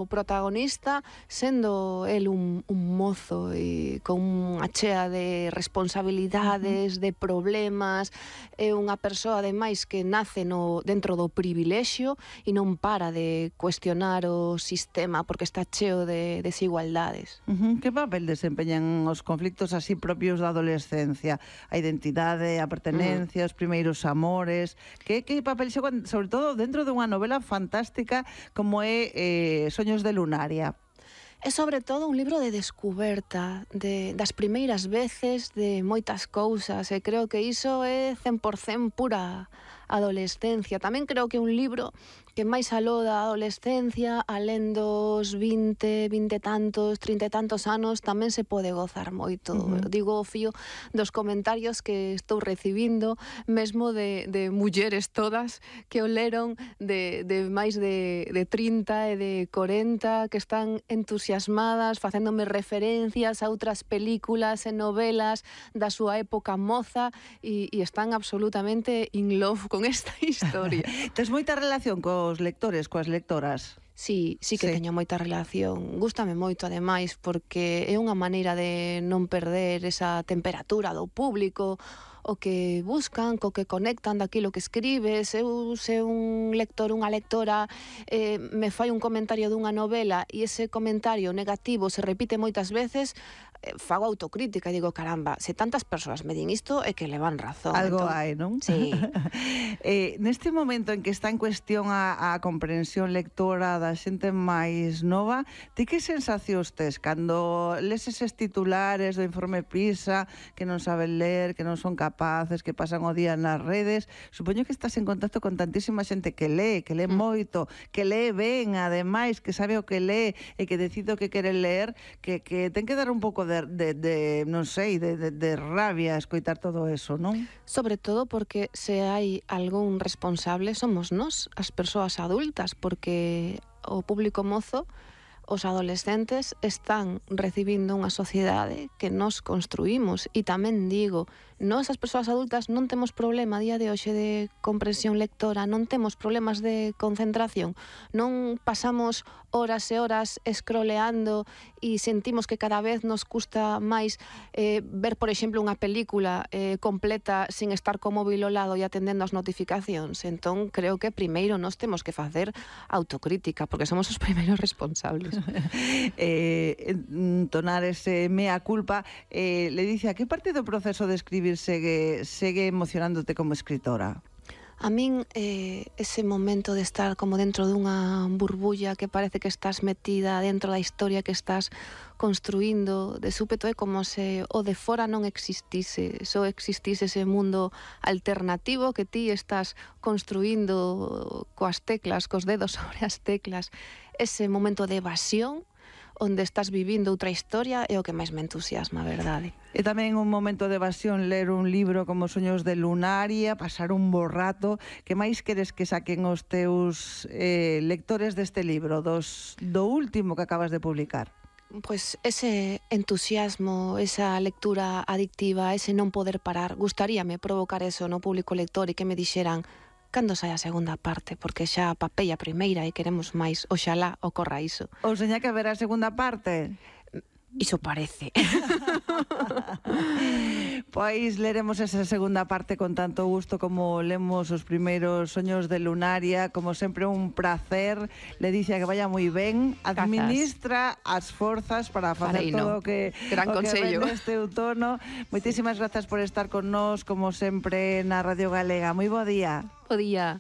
O protagonista, sendo el un mozo e con unha chea de responsabilidades, de problemas, é unha persoa ademais que nace dentro do privilexio e non para de cuestionar o sistema porque está cheo de desigualdades. Que papel desempeñan os conflictos así propios da adolescencia? A identidade, a pertenencia, os primeiros amores... Que papel xogan, sobre todo, dentro dunha novela fantástica como é Soños de Lunaria? É sobre todo un libro de descuberta, das primeiras veces, de moitas cousas, e creo que iso é 100% pura adolescencia. Tamén creo que é un libro que máis aló da adolescencia, alén dos 20 e tantos, 30 e tantos anos, tamén se pode gozar moito. Digo o fío dos comentarios que estou recibindo, mesmo de mulleres todas que o leron de máis de 30 e de 40, que están entusiasmadas, facéndome referencias a outras películas e novelas da súa época moza e están absolutamente in love con esta historia. Tes moita relación cos lectores, coas lectoras? Sí que teño moita relación. Gústame moito, ademais, porque é unha maneira de non perder esa temperatura do público, o que buscan, co que conectan daquilo que escribes. Eu, se un lector, unha lectora, me fai un comentario dunha novela e ese comentario negativo se repite moitas veces, fago autocrítica e digo, caramba, se tantas persoas me din isto é que le van razón. Algo hai, non? Sí. Neste momento en que está en cuestión a comprensión lectora da xente máis nova, ti que sensacións tes cando les eses titulares do informe PISA, que non saben ler, que non son capaces, que pasan o día nas redes? Supoño que estás en contacto con tantísima xente que lee moito, que lee ben, ademais, que sabe o que lee e que decide o que quere ler, que ten que dar un pouco non sei, de rabia escoitar todo eso, non? Sobre todo porque se hai algún responsable somos nós, as persoas adultas, porque o público mozo, os adolescentes, están recibindo unha sociedade que nós construímos. E tamén digo, nós as persoas adultas non temos problema a día de hoxe de comprensión lectora, non temos problemas de concentración, non pasamos horas e horas scrolleando e sentimos que cada vez nos custa máis ver, por exemplo, unha película completa sin estar co móvil ao lado e atendendo as notificacións. Entón, creo que primeiro nós temos que facer autocrítica, porque somos os primeiros responsables. Entonar ese mea culpa. Le dice, a que parte do proceso de escribir segue emocionándote como escritora? A min ese momento de estar como dentro dunha burbulla que parece que estás metida dentro da historia que estás construíndo, de súpeto é como se o de fora non existise, só existise ese mundo alternativo que ti estás construíndo coas teclas, cos dedos sobre as teclas. Ese momento de evasión onde estás vivindo outra historia é o que máis me entusiasma, a verdade. E tamén un momento de evasión ler un libro como Soños de Lunaria, pasar un bo rato. Que máis queres que saquen os teus lectores deste libro, do último que acabas de publicar? Pois ese entusiasmo, esa lectura adictiva, ese non poder parar. Gustaríame provocar eso no público lector e que me dixeran cando sai a segunda parte, porque xa papei a primeira e queremos máis. Oxalá ocorra iso. Ou seña que haberá a segunda parte? Iso parece. Pois leremos esa segunda parte con tanto gusto como lemos os primeiros Soños de Lunaria. Como sempre, un placer. Le dice que vaya moi ben. Administra as forzas para facer todo o que ven este outono. Moitísimas grazas por estar con nós, como sempre, na Radio Galega. Moi bo día. Bo día.